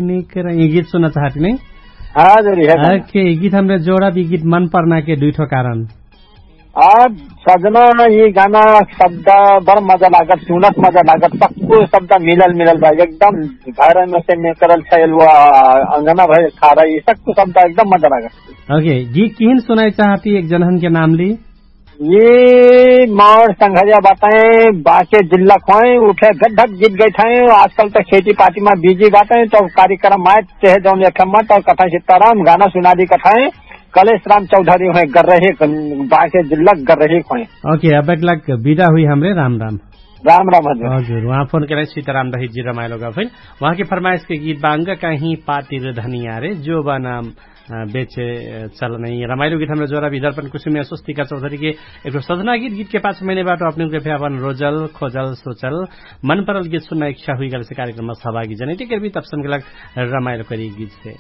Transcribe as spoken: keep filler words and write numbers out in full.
निकरा यी गीत सुन्ना चाहती नै। हाँ जरी है गाना। ओके यी गीत हमरे जोड़ा भी गीत मन पर्ना के दुई ठो कारण। आ सजना यी गाना शब्द बड़ मजा लागत सुनत मजा लागत सक्कु शब्द मिलल मिलल भाई एकदम। घर में से निकरल छैल हुआ अंगना भाई खारा यी सक्कु शब्द एकदम मजा लागत। ओके गीत किहिन सुनाई चाहती एक जनहन के नाम ली। यी मौर संघरिया बातै बाँके जिल्ला खोइ उठे गड्ढक जित गइथै। आजकल त खेती पातीमा बिजी बातै त कार्यक्रम आए तेहे जौन एफएममा त कथै सित्ताराम गाना सुनादी कथै। कलेश राम चौधरी होइ गर्रहे बाँके जिल्ला गर्रहे खोइ। ओके अब एक लाख बिदा हुई हमरे राम राम। राम राम हजुर। हजुर उहाँ फोन केरै सित्ताराम दहित जी रमाइलो गफैल उहाँके फरमाइसके गीत बाङ्ग कहीं पातिर धनिया रे जो बा नाम बेचे चल नै रमाइलो गीत हमरा जोरा विदर्पन कुसुमे स्वस्तिका चौधरीके एकठो सजना गीत गीतके पाछ मैने बाटो अपने उनके फेर अपन रोजल खोजल सोचल मन परल गीत सुन्ना इच्छा हुइगल से कार्यक्रममा सहभागी जनैतिक गीत अपसनके लाग रमाइलो करी गीत से।